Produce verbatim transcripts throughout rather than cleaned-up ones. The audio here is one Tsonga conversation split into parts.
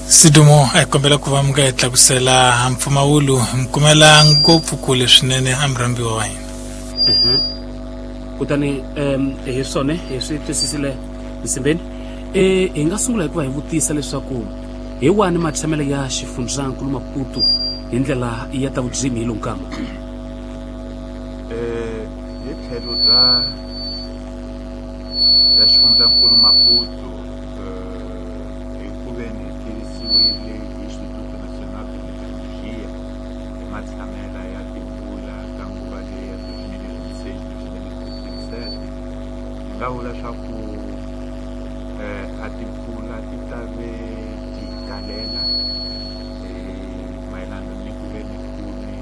Sidumo a hi kombela ku va mi nga hi tlakusela mpfumawulo mi kumela ngopfu kule swinene a murhambiwa wa hina. Kutani um hi swona hi swi twisisile nsimbeni. E hi nga sungula hi ku va hi vutisa leswaku hi wani matshamelo ya xifundzankulu Maputo hi ndlela ya ta vudzimi hi lonkama. Eh hi tlhelo bya bya xifundzankulu Maputo hi ku ve ni tivisiwile hi Instituto Nacional de Meteorologia hi matshamela ya timpfula ka nguva leyi ya dos mil e vinte e seis dos mil e vinte e sete hi nga vula swa ku a timpfula ti ta ve ti kalela mayelana ni ku ve ni ku ni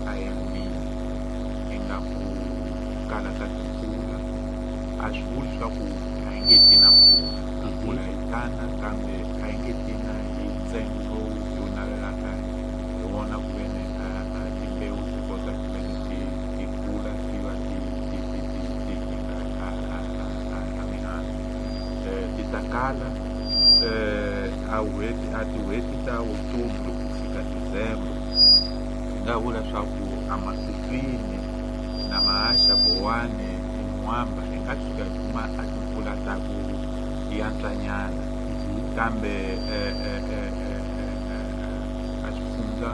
a El Niño ingaku kala ka timpfula a swi vuli swa ku a yi nge ti na mpfula mpfula yi tana kambe a yi nge ti na hi ntsengo lowu hi wu navelaka hi wona ku ve ni a timbewu ti kota ku ve ni ti ti kula ti va ti ti ti ti ti nyika a a a a mihandzu ti ta kala a n'hweti a tin'hweti ta Outubro ku fika December hi nga vula swa ku a Matutuine na Maaxa Bowani Mwamba hi nga tshuka hi kuma a timpfula ta ku yantswanyana kambe a swifundza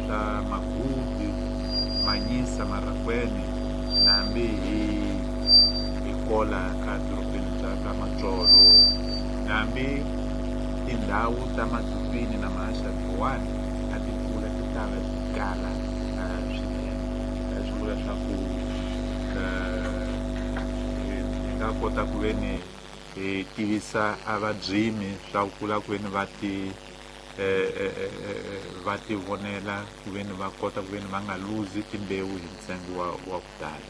swa Magubi Manyisa Marracuene na hambi hi hi kola a dorobeni bya ka Matsolo na hambi tindhawu ta Matutuine na Maaxa Bowani a timpfula ti ta va ti kala swinene swi vula swa ku hi nga kota ku ve ni hi tivisa a vabyimi swa ku kula ku ve ni va ti va ti vonela ku ve ni va kota ku ve ni va nga luzi timbewu hi ntsengo wa wa ku tala.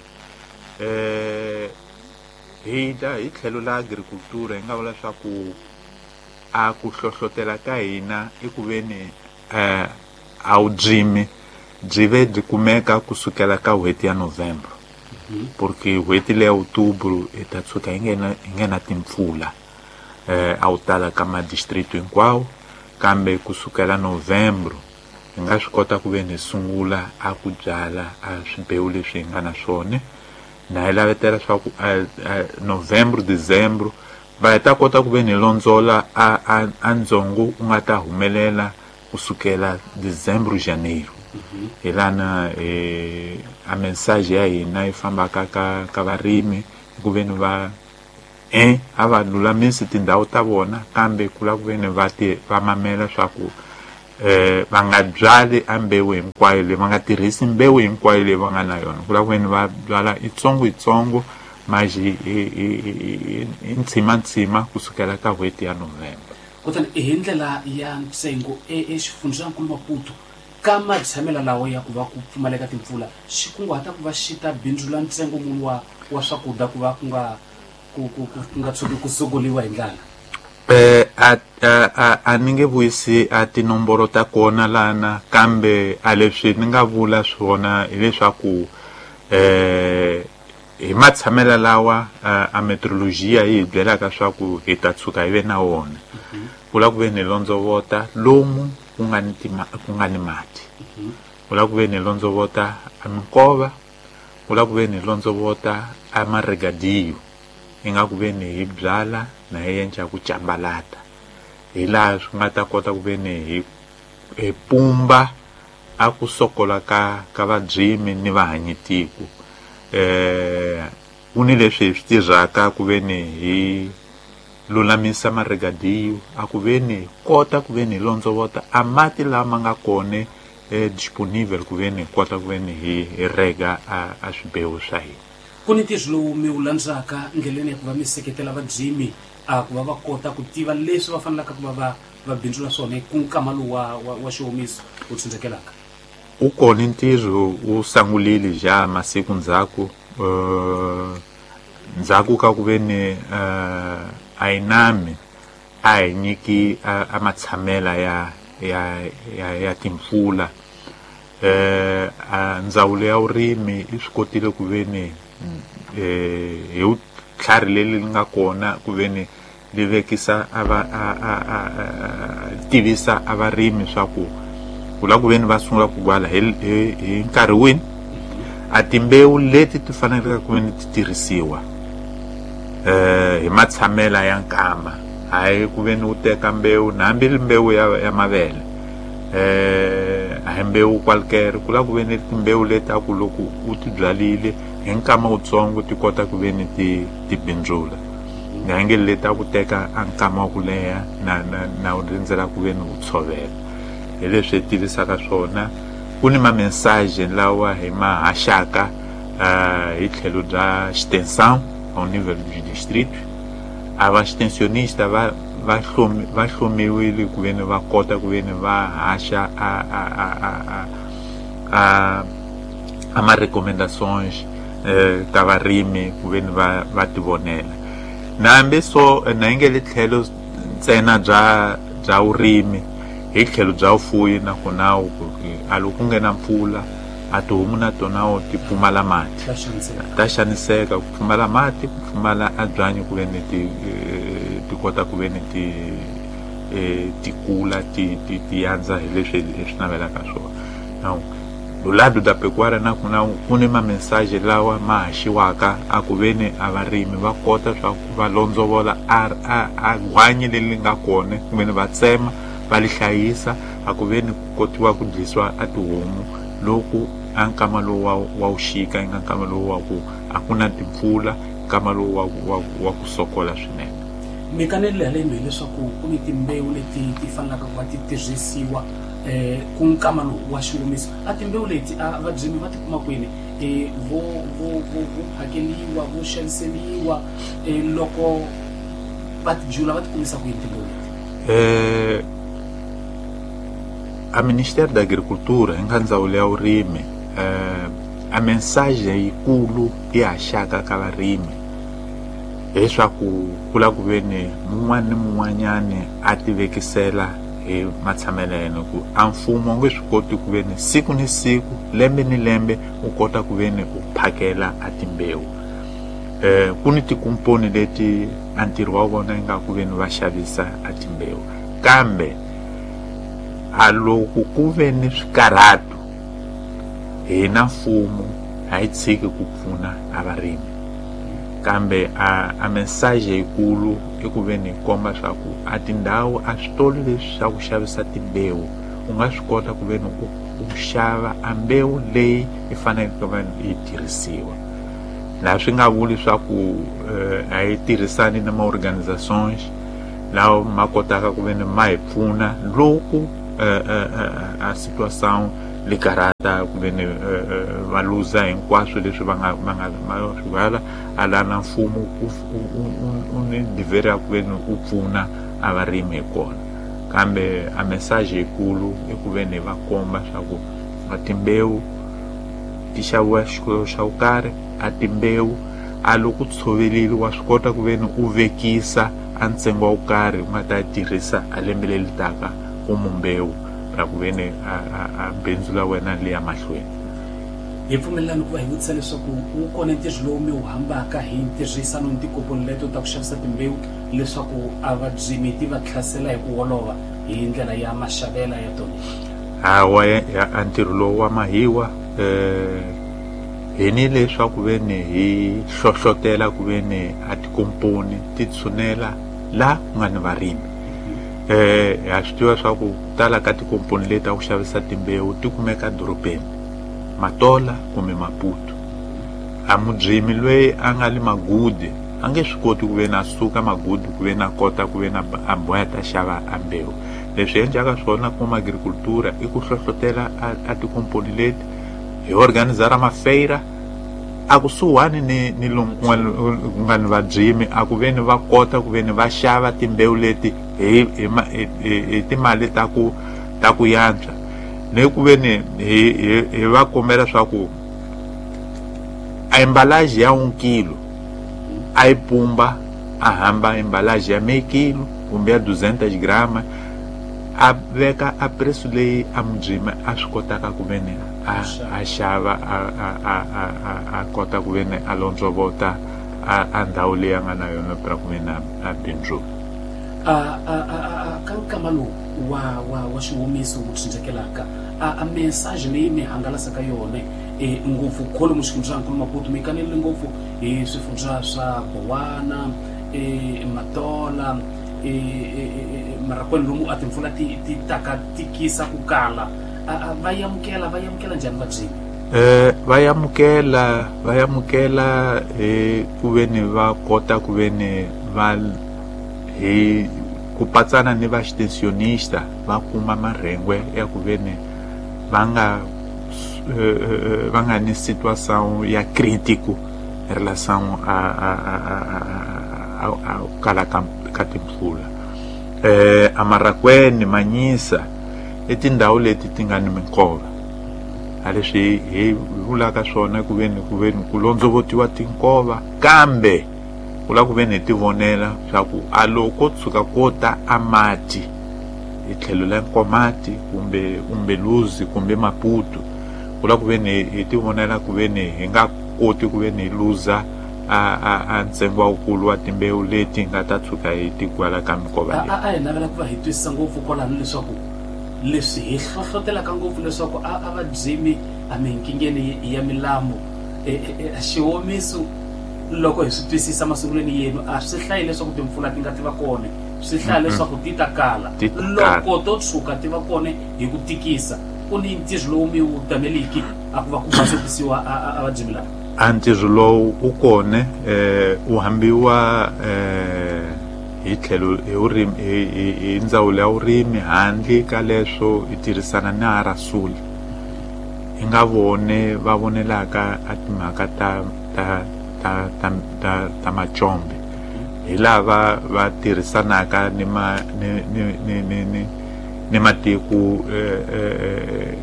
Hi ta hi tlhelo la agricultura hi nga vula swa ku a ku hlohlotela ka hina i ku ve ni a vubyimi byi ve byi kumeka kusukela ka n'hweti ya November porque n'hweti leya Outubro hi ta tshuka hi nghena hi nghena timpfula eh a wu tala ka madistrict hinkwawo kambe kusukela November hi nga swi kota ku ve ni sungula a ku byala a swibewu leswi hi nga na swona na hi lavetela swa ku November December va ta kota ku ve ni londzola a a a ndzongo u nga ta humelela kusukela December Janeiro hi lana eh a mensagem ya hina yi fambaka ka ka varimi ku ve ni va eh a va lulamisi tindhawu ta vona kambe ku lava ku ve ni va ti va mamela swa ku eh va nga byali a mbewu hinkwayo leyi va nga tirhisi mbewu hinkwayo leyi va nga na yona ku lava ku ve ni va byala itsongo itsongo maji hi ntshima ntshima kusukela ka n'hweti ya November. Kutani hi ndlela ya ntsengo exifundzankulu Maputo ka matshamela lawa ya ku va ku pfumaleka timpfula xi kunguhata ku va xi ta bindzula ntsengo muni wa wa swakudya ku va ku nga ku ku ku nga tshuki ku sokoliwa hi ndlala? Eh a a a ni nge vuyisi a tinomboro ta kona lana kambe a leswi ni nga vula swona hileswaku eh hi matshamela lawa a meteorologia yi hi byelaka swa ku hi ta tshuka hi ve na wona ku lava ku ve ni londzovota lomu ku nga ni ku nga ni mati ku lava ku ve ni londzovota a minkova ku lava ku ve ni londzovota a maregadiyo hi nga ku ve ni hi byala na hi endla ku cambalata hi laha swi nga ta kota ku ve ni hi hi pumba a ku sokola ka ka vabyimi ni vahanyitiko eh ku ni leswi hi swi tirhaka ku ve ni hi lulamisa maregadiyo a ku ve ni kota ku ve ni londzovota a mati lama nga kona eh, disponible ku ve ni kota ku ve ni hi rega a, a swibewu swa hina. Ku ni ntirho lowu mi wu landzaka ndleleni ya ku va mi seketela vabyimi a ku va va kota ku tiva leswi va fanelaka ku va va va bindzula swona ku nkama lowu wa, wa, wa xiwomiso wu tsundzukelaka? U kona ntirho wu sungulile ja masiku ndzhaku uh, ndzhaku ka ku ve ni uh, a inami a hi nyiki a, a matshamela ya ya ya, ya timpfula eh a ndzawulo ya vurimi yi swi kotile ku ve ni eh hi vutlhari leri nga kona ku ve ni li vekisa a va a a a tivisa a varimi swa ku ku la ku veni va sungula ku gwala hi hi nkarhi wini a timbewu leti ti faneleke ku veni ti tirhisiwa eh hi matshamela ya nkama hayi ku veni u teka mbewu na hambi mbewu ya ya mavele eh a hi mbewu qualquer ku la ku veni timbewu leti a ku loko u ti byalile hi nkama wutsongo ti kota ku veni ti ti bindzula nge leti a ku teka a nkama wa ku leha na na na u rindzela ku veni u tshovela hi leswi hi tivisaka swona ku ni ma-message lawa hi ma haxaka hi tlhelo bya extensão ao nível do distrito a va extensionista va va hlomi va hlomiwile ku veni va kota ku veni va haxa a a a a a a ma recomendações eh ka varimi ku veni va va tivonela na hambi so na nge le tlhelo ntsena bya bya vurimi hi tlhelo bya vufuwi na kona a loko ku nghena mpfula a tihomu na tona ti pfumala mati ta xaniseka ku pfumala mati ku pfumala a byanyi ku veni ti ti kota ku veni ti ti kula ti ti ti yandza hi leswi hi swi navelaka swona now do lado da pecuária na kuna ku ni ma-message lawa ma haxiwaka a ku veni a varimi va kota swa ku va londzovola a a a gwanyi leri nga kona ku veni va tsema va li hlayisa a ku veni ku kotiwa ku dlisiwa a tihomu loko a nkama lowu wa wa wuxika yi nga nkama lowu wa ku a ku na timpfula nkama lowu wa wa wa ku sokola swinene mi kanelile haleno hileswaku ku ni timbewu leti ti fanelaka ku va ti tirhisiwa eh ku nkama lowu wa xingomiso a timbewu leti a vabyimi va ti kuma kwini eh vo vo vo vo phakeliwa vo xaviseliwa eh loko va ti jula va ti kumisa ku yini timbewu leti eh a Ministério da Agricultura hi nga ndzawulo ya vurimi eh a mensagem yikulu yi haxaka ka varimi leswaku ku la ku veni mun'wana ni mun'wanyani a ti vekisela hi matshamelo ya yena ku a mfumo wu nge swi koti ku veni siku ni siku lembe ni lembe u kota ku veni u phakela a timbewu eh ku ni tikomponi leti a ntirho wa vona yi nga ku veni va xavisa a timbewu kambe a loko ku ve ni swikarhato hina mfumo a yi tshiki ku pfuna a varimi kambe a a mensagem yikulu i ku veni hi komba swa ku a tindhawu a switolo leswi swa ku xavisa timbewu u nga swi kota ku veni u u xava a mbewu leyi yi faneleke ku va yi tirhisiwa laha swi nga vuli swa ku a yi tirhisani na ma-organizations lawa ma kotaka ku veni ma hi pfuna loko a situação li karata ku veni va luza hinkwaswo leswi va nga va nga va swi byala a la na mfumo u ni dever ya ku veni u pfuna a varimi hi kona kambe a message yikulu i ku veni va komba swa ku a timbewu ti xaviwa xikolo xa ku karhi a timbewu a loko tshovelile wa swi kota ku veni u vekisa a ntsengo wa ku karhi u nga ta tirhisa a lembe leri taka ku mbewu ra ku veni a a bindzu la wena li ya mahlweni hi pfumelelani ku va hi vutisa leswaku wu kona ntirho lowu mi wu hambaka hi ntirhisano ni tikomponi leto ta ku xavisa timbewu leswaku a vabyimi ti va tlhasela hi ku olova hi ndlela ya maxavela ya tona hawa a ntirho lowu wa mahiwa eh hi ni leswaku veni hi hlohlotela ku veni a tikomponi ti tshunela la ku nga ni varimi eh ha swi tiva swa ku tala ka tikomponi leti ta ku xavisa timbewu ti kumeka dorobeni Matola kumbe Maputo a mubyimi loyi a nga le Magude a nge swi koti ku veni a suka Magude ku veni a kota ku veni a boya ta xava a mbewu leswi endlaka swona kuma agricultura i ku hlohlotela a tikomponi leti hi organizara mafeira a kusuhani ni ni lomu ku nga ni vabyimi a ku veni va kota ku veni va xava timbewu leti hi hi hi timali ta ku ta ku yantswa ni ku veni hi hi va kombela swa ku a embalagem ya un kilo a yi pumba a hamba embalagem ya meio quilo kumbe ya duzentas grama a veka a preço leyi a mubyimi a swi kotaka ku veni a a xava a a a a a kota ku veni a londzovota a a ndhawu leyi a nga na yona pra ku veni a bindzula. A a a ka nkama lowu wa wa wa xiwomiso wu tsindzekelaka a a message leyi mi hangalasaka yona e ngopfu kholo xifundzankulu Maputo mi kanelile ngopfu hi swifundza swa Bowana e Matola e Marakwene lomu a timpfula ti ti taka tikisa ku kala va yamukela va yamukela njhani vabyini? Eh va yamukela va yamukela hi ku veni va kota ku veni va hi ku patsana ni va extensionista va kuma marhengwe ya ku veni va nga va nga ni situação ya crítico em relação a a a a a kala ka timpfula. Eh a Marakwene Manyisa i tindhawu leti ti nga ni minkova a leswi hi vulaka swona ku veni ku veni ku londzovotiwa tinkova kambe ku lava ku veni hi ti vonela swa ku a loko tshuka ko ta a mati hi tlhelo la Nkomati kumbe Umbeluzi kumbe Maputo ku lava ku veni hi ti vonela ku veni hi nga koti ku veni hi luza a a a ntsengo wa wukulu wa timbewu leti nga ta tshuka hi tigwala ka minkova leyi. A hi navela ku va hi twisisa ngopfu kwalano leswaku leswi hi hlohlotelaka ngopfu leswaku a a va byimi a minkingeni ya milambu xiwomiso loko hi swi twisisa masungulweni yenu a swi hlayi leswaku timpfula ti nga ti va kona swi hlaya leswaku ti ta kala loko to tshuka ti va kona hi ku tikisa ku ni ntirho lowu mi wu tameliki a ku va ku basokisiwa a va byimi lava. A ntirho lowu wu kona eh wu hambiwa eh hi tlhelo hi vurimi hi ndzawulo ya vurimi handle ka leswo hi tirhisana na Arasuli hi nga vone va vonelaka a timhaka ta ta ta ta ta ta macombe hi lava va tirhisanaka ni ma ni ni ni ni ni ni matiko eh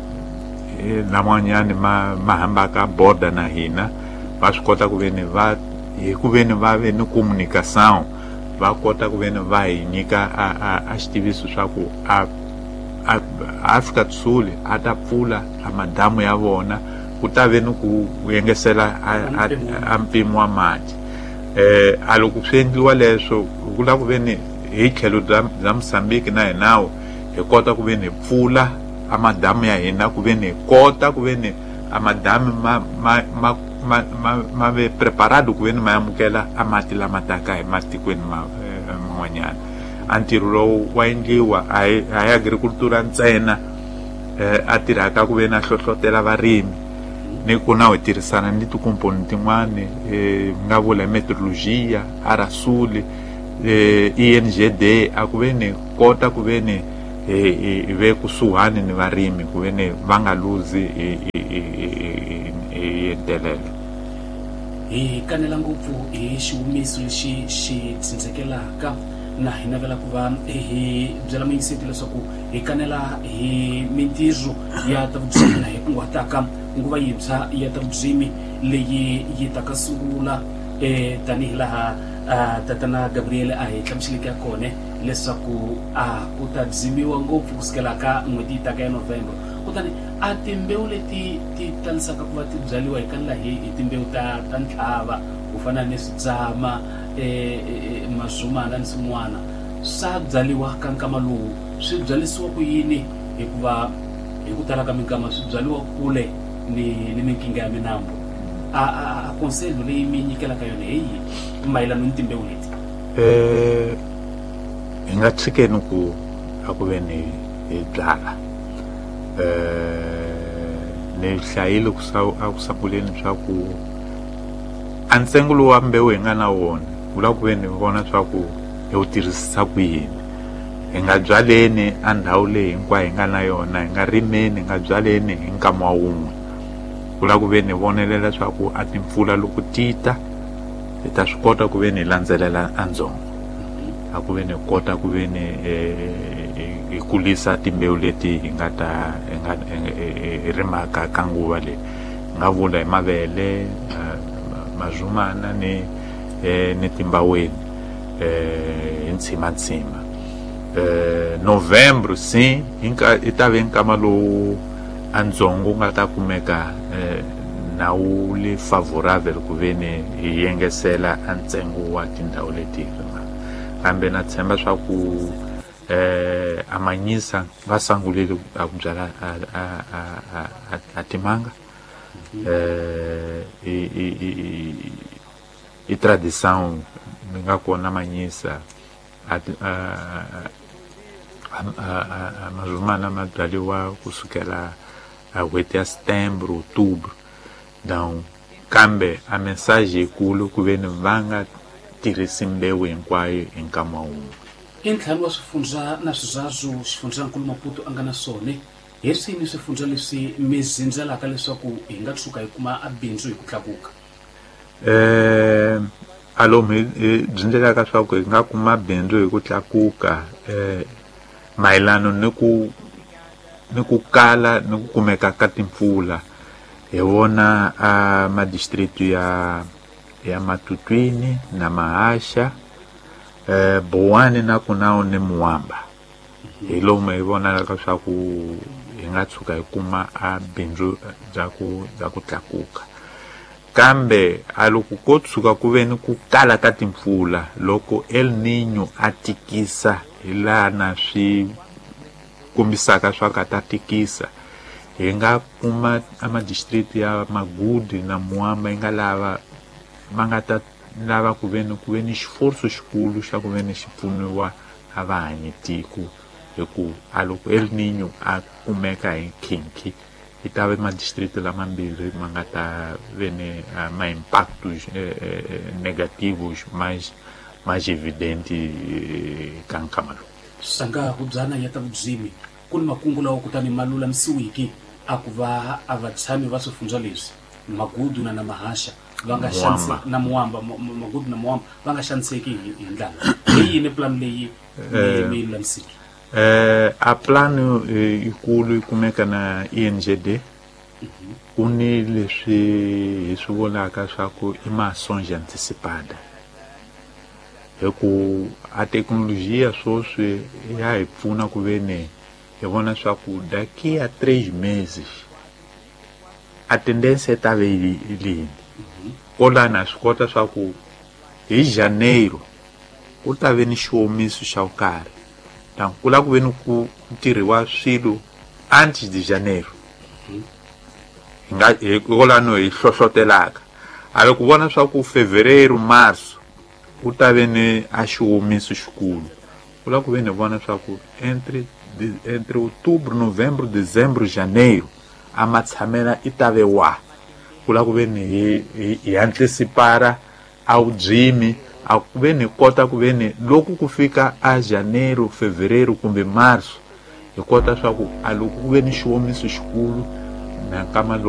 laman'wanyani ma ma hambaka border na hina va swi kota ku veni va hi ku veni va ve ni communication va kota ku veni va hi nyika a a a xitiviso swa ku a a Afrika do Sul a ta pfula a madamu ya vona ku ta ve ni ku yengesela a mpimo wa mati. Eh a loko swi endliwa leswo ku lava ku veni hi tlhelo bya bya Mozambique na hinawo hi kota ku veni hi pfula a madamu ya hina ku veni hi kota ku veni a madamu ma ma ma ma ma ma ve preparado ku veni ma amukela a mati lama taka hi matikweni ma man'wanyana. A ntirho lowu wa endliwa a hi a hi agricultura ntsena a tirhaka ku veni a hlohlotela varimi ni ku na hi tirhisana ni tikomponi tin'wani eh nga vula meteorologia Arasuli eh I N G D a ku veni kota ku veni hi ve kusuhani ni varimi ku veni va nga luzi hi hi ntelelo. Hi kanela ngopfu hi xiwomiso lexi xi tsindzekelaka na hi navela ku va hi byela muyingiseti leswaku hi kanela hi mintirho ya ta vubyimi na hi kunguhataka nguva yintshwa ya ta vubyimi leyi yi taka sungula eh tanihi laha tatana Gabriel a hi hlamuseleke ya kona leswaku a ku ta byimiwa ngopfu kusukela ka n'hweti yi taka ya November kutani a timbewu leti ti talisaka ku va ti byaliwa hi kanela hi hi timbewu ta ta ntlhava ku fana ni switsama eh mazumana ni swin'wana swa byaliwa ka nkama lowu swi byalisiwa ku yini hikuva hi ku tala ka minkama swi byaliwa kule ni ni minkinga ya minambu a a conseil leyi mi nyikelaka yona hi yihi mayelana ni timbewu leti? Eh hi nga tshikeni ku a ku veni hi byala eh ni hlayile ku a ku sunguleni swa ku a ntsengo lowu wa mbewu hi nga na wona wu lava ku veni hi vona swa ku hi wu tirhisisa ku yini. Hi nga byaleni a ndhawu leyi hinkwayo hi nga na yona hi nga rimeni hi nga byaleni hi nkama wa wun'we ku lava ku veni hi vonelela swa ku a timpfula loko ti ta hi ta swi kota ku veni hi landzelela a ndzhongo a ku veni hi kota ku veni hi kulisa timbewu leti hi nga ta hi nga hi rimaka ka nguva leyi hi nga vula hi mavele mazumana ni ni timbaweni eh hi ntshimantsima. Eh November sim i ta ve nkama lowu a ndzhongo wu nga ta kumeka eh na wu le favorable ku veni hi yengesela a ntsengo wa tindhawu leti hi rimaka. Kambe na tshemba swa ku eh amanyisa va sangulile a ku byala a a a a timanga. Eh i i i i tradição ni nga kona manyisa a a a mazumana ma byariwa kusukela a n'hweti ya setembro, outubro. Então kambe a mensagem yikulu ku ve ni va nga tirhisi mbewu hinkwayo hi nkama wun'we. I ntlhanu wa swifundza na swizazu xifundzankulu Maputo a nga na swona. Hi swini swifundza leswi mi zindzelaka leswaku hi nga tshuka hi kuma a bindzu hi ku tlakuka? Eh alomu hi byindzelaka swa ku hi nga kuma bindzu hi ku tlakuka eh mayelana ni ku ni ku kala ni ku kumeka ka timpfula. Hi vona a madistrict ya ya Matutuine na Mahasha, eh Boane na Kunao ni Muamba. Hi lomu hi vonaka swa ku hi nga tshuka hi kuma a bindzu bya ku bya ku tlakuka. Kambe a loko ko tshuka ku ve ni ku kala ka timpfula, loko El Niño a tikisa hi laha na swi kombisaka swa ka ta tikisa, hi nga kuma a madistrict ya Magudu na Muamba yi nga lava ma nga ta lava ku ve ni ku ve ni xiforso xikulu xa ku ve ni xi pfuniwa a va hanyi tiko, hi ku a loko El Niño a kumeka hi nkhinkhi yi ta ve madistrict lamambirhi ma nga ta ve ni ma impactos negativos mais mais evidente ka nkama lowu. Sanga hubyana ya ta vubyimi ku ni makungu lawa kutani ma lulamisiwiki a ku va a vatshami va swifundza leswi Magudu na na Mahasha va nga xanise na Muamba, Magudu na Muamba va nga xaniseki hi ndlala. Hi yini plan leyi mi yi lulamisiki? Eh a plano yikulu yi kumeka na I N G D. Ku ni leswi hi swi vonaka swa ku i mações antecipada. Hi ku a tecnologia sweswi ya hi pfuna ku ve ni hi vona swa ku daqui a três meses a tendência ta ve yini. Kolana swi kota swa ku hi janeiro ku ta ve ni xiomiso xa karhi. Então ku lava ku ve ni ku tirhiwa swilo antes de janeiro. Hi nga hi kolano hi hlohlotelaka. A loko vona swa ku fevereiro, março ku ta ve ni a xiomiso xikulu. Ku lava ku ve ni vona swa ku entre entre outubro, novembro, dezembro, janeiro a matshamela i ta ve wa. Ku lava ku ve ni hi hi antecipara a vubyimi, a ku ve ni kota ku ve ni loko ku fika a janeiro, fevereiro kumbe março hi kota swa ku a loko ku ve ni xiomiso xikulu na nkama lowu.